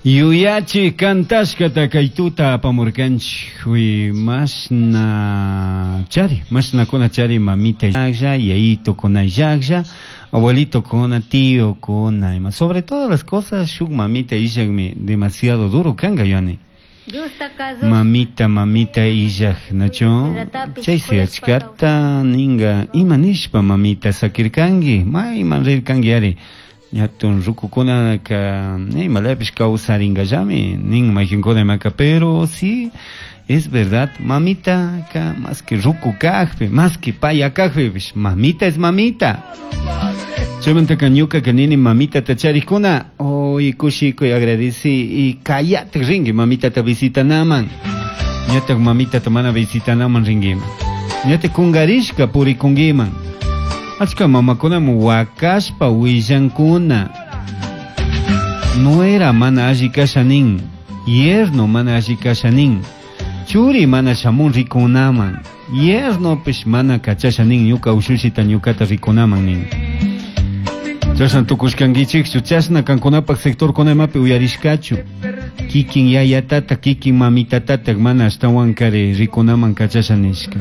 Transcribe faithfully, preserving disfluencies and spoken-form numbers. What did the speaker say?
Yuyachi kantashkata kay tuta apamurkanchik mashna chari mashnakuna chari mamita llaqlla yayitokuna llaqlla abuelitokuna tíokuna ima sobre todas las cosas shuk mamita illakmi demasiado duro kanka yani. Diosta kazushpa Mamita, mamita illaj, nacho chaysi achkata ninga ima nishpa mamita sakirkanki mayman rirkanki ari ñatun rukukunaka imalapish kawsaringallami nin mayqinkuna imaka, pero sí es verdad, mamita ka más que ruku kajpi, más que paya kajpipish, mamita es mamita. Chaymantaka ñukaka nini mamitata charikuna hoy kushikuy agradeci y kayatak rinki mamitata visitanaman, ñatak mamitata mana visitanaman rinkiman, ñatak kungarishka purikunkiman. Achka mamakunami wakashpa willankuna nuera mana alli kasha nin, yerno mana alli kasha nin, churi mana shamun rikunaman, yernopish mana kachasha nin ñuka ushushita ñukata rikunaman nin. Chashna tukushkankichikchu, chashna kankunapak sectorkuna imapi uyarishkachu, kikin yayatata kikin mamitatata mana ashtawankari rikunaman kachasha nishka.